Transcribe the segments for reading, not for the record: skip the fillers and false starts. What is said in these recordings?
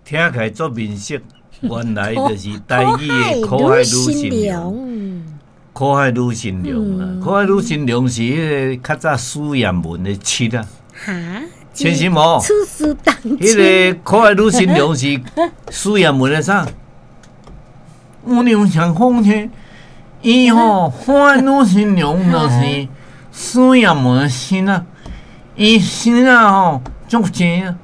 聽起來足面熟，原來就是台語的苦海女神龍。苦海女神龍啊，苦海女神龍是彼個較早史艷文的七啊。哈？千心無？此事當彼個苦海女神龍是史艷文的啥？我娘想講呢，伊吼苦海女神龍就是史艷文的身啊，伊身啊吼足濟啊，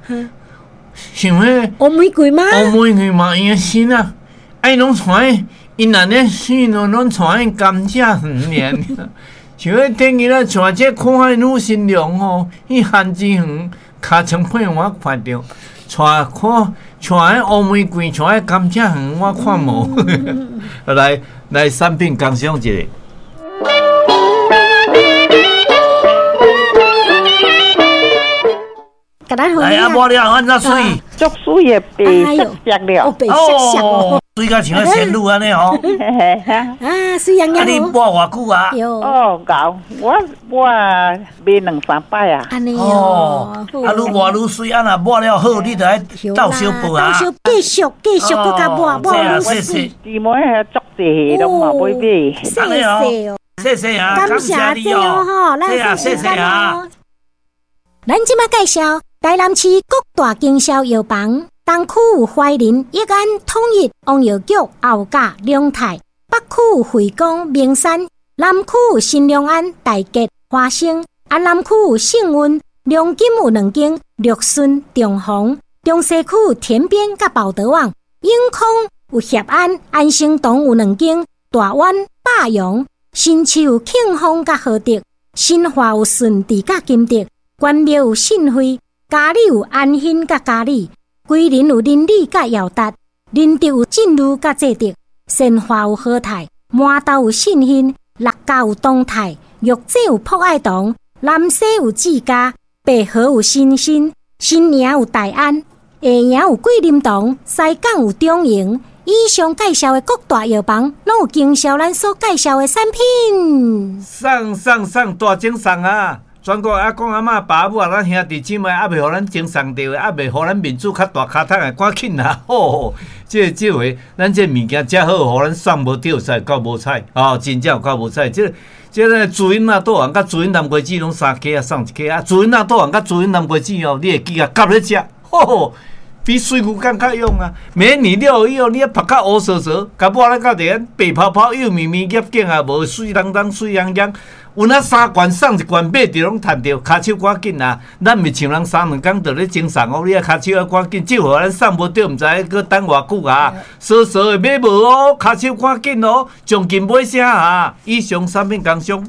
像彼烏玫瑰嗎？烏玫瑰嘛，伊的身啊，愛攏帶，伊若咧死咯，攏帶去甘蔗園爾。像彼電影啊，像這苦海女神龍吼，去番子園尻川片我看著，帶看帶彼烏玫瑰，帶彼甘蔗園，我看無。來來，產品工商一下。來啊，抹了按怎媠？足媠的白色色了，白色色哦，媠甲像個仙女按呢吼。啊，媠洋洋。啊，你抹偌久啊？哦，𠢕，我抹買兩三擺啊。按呢哦。啊，愈抹愈媠，啊若抹了好，你就愛鬥相報啊。鬥相繼續繼續閣共抹抹愈媠。姊妹足濟攏嘛欲買。謝謝哦，謝謝啊，感謝你哦，吼，咱謝謝啊。咱這馬介紹台南市各大經銷藥房，東區有懷仁、益安、統一、王藥局、後甲、龍泰；北區有惠光、明山；南區有新良安、大吉、華生；啊，南區有幸運、龍金有兩間，樂順、中宏；中西區有田邊佮寶德旺；永康有協安、安生堂有兩間，大灣、百陽；新市有慶豐佮和德；新化有順治佮金德；關廟有信惠。嘉里有安興佮嘉里，桂林有林里佮耀達，仁德有進如佮濟德，善化有和泰，麻豆有信興，六甲有東泰，玉井有朴愛堂，南勢有志嘉，白河有新興，新營有大安，下營有桂林堂，西港有中營。以上介紹的各大藥房，攏有經銷咱所介紹的產品。送送送大獎送啊！全國阿公阿嬤、爸母啊，咱兄弟姊妹猶未予咱贈送著的，猶未予咱面子較大跤桶的，趕緊啊！吼，這這回咱這物件遮好，予咱送無著，實夠無彩哦，真正有夠無彩。這這個朱茵仔倒紅佮朱茵南瓜子攏三克啊，送一克啊。朱茵仔倒紅佮朱茵南瓜子哦，你會記啊？夾咧食，吼，比水牛肝較勇啊！美女了以後，你啊曝較烏趖趖，共抹咧到佇白泡泡、幼綿綿、夾頸也無，媠當當、媠洋洋。有那三罐送一罐，買著攏趁著，跤手趕緊啊！咱毋是像人三兩工就咧贈送哦，你啊跤手愛趕緊，這回咱送無著，毋知閣等偌久啊！傻傻的買無哦，跤手趕緊哦，將近買啥啊？以上產品工商。